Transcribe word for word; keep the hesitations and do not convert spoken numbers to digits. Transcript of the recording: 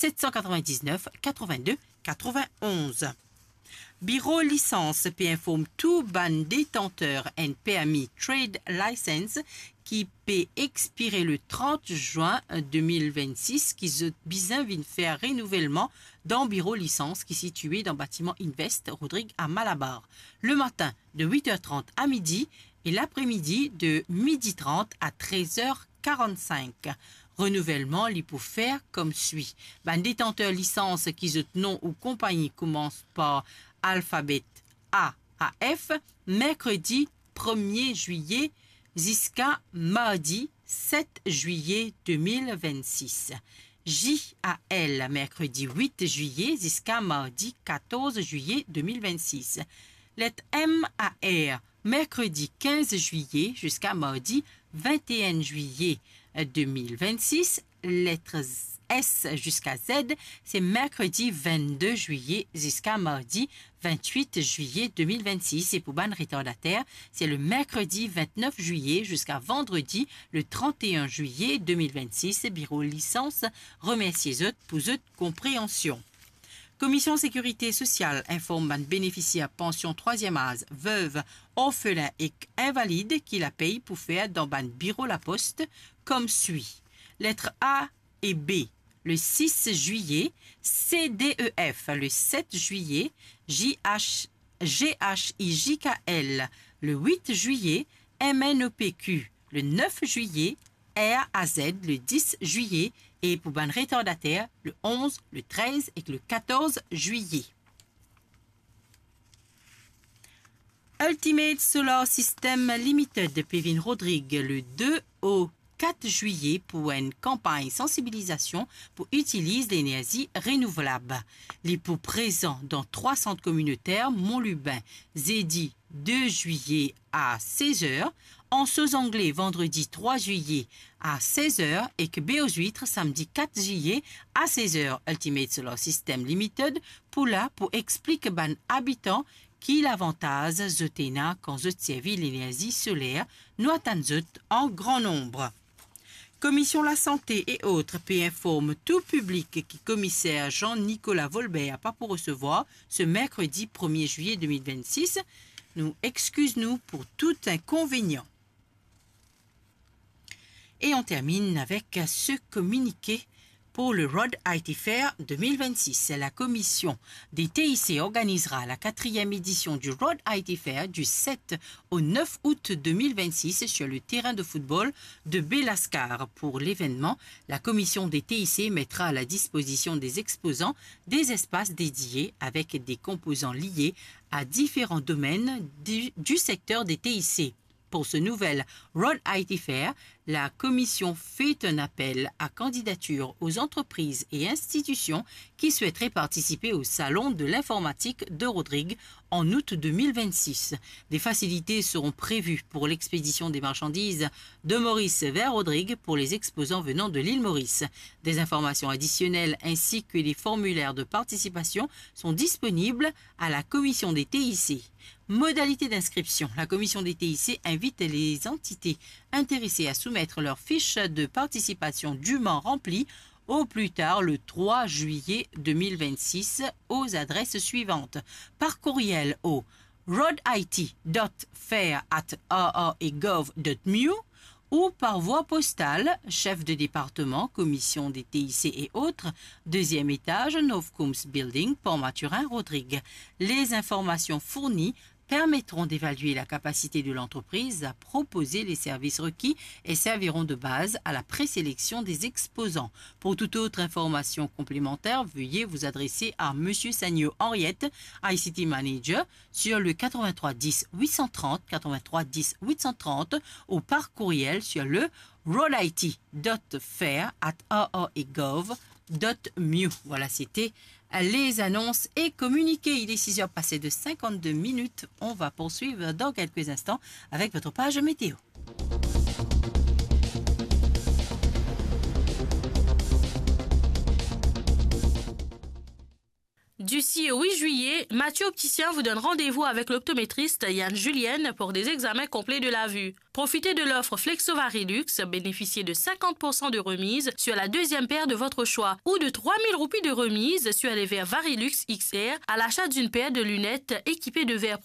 set san katrovin-diznef, katrovin-de, katrovin-onz. Biro Lisans pe inform tou bann detanter enn permi trade license ki pe expire le trant zwin de mil vennsis ki zot bizin vinn fer renouvelman dan biro lisans ki sitiye dan batiman Invest Rodrig a Malabar, le matin de wit er trant a midi e lapremidi de midi trant a trez er karannsink. Renouvelman li pou fer koumswi. Bann detanter lisans ki zot nom ou konpagni koumans par alfabet A a F, merkredi premie zwiye ziska mardi set zwiye de mil vennsis. J a L, merkredi wit zwiye ziska mardi katorz zwiye de mil vennsis. Let M a R, merkredi kinz zwiye ziska mardi vinte-e-enn zwiye de mil vennsis. Let S ziska Z, se merkredi vennde zwiye ziska mardi vintwit zwiye de mil vennsis. E pou bann retardater, se le merkredi vintnef zwiye ziska vandredi le trant-e-enn zwiye de mil vennsis. Biro Lisans remersie zot pou zot konpreansion. Komision Sekirite Sosial inform bann benefisier pansion trwaziem az, vev, orfelin ek invalid ki lapey pou fer dan bann biro Lapost koumswi. Let A e B, le sis zwiye, C D E F, le set zwiye, J H, G H I J K L, le wit zwiye, M N O P Q, le nef zwiye, R A Z, le dis zwiye, e pou bann retardater, le onz, le trez ek le katorz zwiye. Ultimate Solar System Limited pe vinn Rodrig le de o kat zwiye pou enn kanpagn sansibilizasion pou itiliz lenerzi renouvlab. Li pou prezan dan trwa sant kominoter Mont Lubin, zedi de zwiye a sez er, Anse aux Anglais, vandredi trwa zwiye a sez er, ek Baie aux Huîtres, samdi kat zwiye a sez er. Ultimate Solar System Limited pou la pou explik bann abitan ki lavantaz zot ena kan zot servi lenerzi soler, nou atann zot an gran nonb. Komision Lasante e ot pe inform tou piblik ki Komiser Jean-Nicolas Volbert pa pou resevwar se merkredi premie zwiye de mil vennsis. Nou exkiz nou pou tou inkonvenian. Et on termine avec ce communiqué pour le Road I T Fair deux mille vingt-six. La commission des T I C organisera la quatrième édition du Road I T Fair du sept au neuf août deux mille vingt-six sur le terrain de football de Belascar. Pour l'événement, la commission des T I C mettra à la disposition des exposants des espaces dédiés avec des composants liés à différents domaines du, du secteur des T I C. Pour ce nouvel Road I T Fair, la commission fait un appel à candidature aux entreprises et institutions qui souhaiteraient participer au Salon de l'informatique de Rodrig en août deux mille vingt-six. Des facilités seront prévues pour l'expédition des marchandises de Maurice vers Rodrig pour les exposants venant de l'île Maurice. Des informations additionnelles ainsi que les formulaires de participation sont disponibles à la commission des T I C. Modalité d'inscription. La commission des T I C invite les entités intéressées à soumettre leur fiche de participation dûment remplie au plus tard le trois juillet deux mille vingt-six aux adresses suivantes. Par courriel au road I T dot fair at R R A gov dot M U ou par voie postale, chef de département, commission des T I C et autres, deuxième étage, Novcooms Building, Port Mathurin, Rodrig. Les informations fournies permettront d'évaluer la capacité de l'entreprise à proposer les services requis et serviront de base à la présélection des exposants. Pour toute autre information complémentaire, veuillez vous adresser à Monsieur Sagno Henriette, I C T Manager, sur le quatre-vingt-trois dix huit cent trente, quatre-vingt-trois dix huit cent trente, ou par courriel sur le road I T dot fair at R R A gov dot M U. Voilà, c'était les annonces et communiqués. Il est six heures passées de cinquante-deux minutes. On va poursuivre dans quelques instants avec votre page météo. Du six au huit juillet, Mathieu Opticien vous donne rendez-vous avec l'optométriste Yann Julienne pour des examens complets de la vue. Profitez de l'offre Flexo Varilux, bénéficiez de cinquante pour cent de remise sur la deuxième paire de votre choix ou de trois mille roupies de remise sur les verres Varilux X R à l'achat d'une paire de lunettes équipées de verres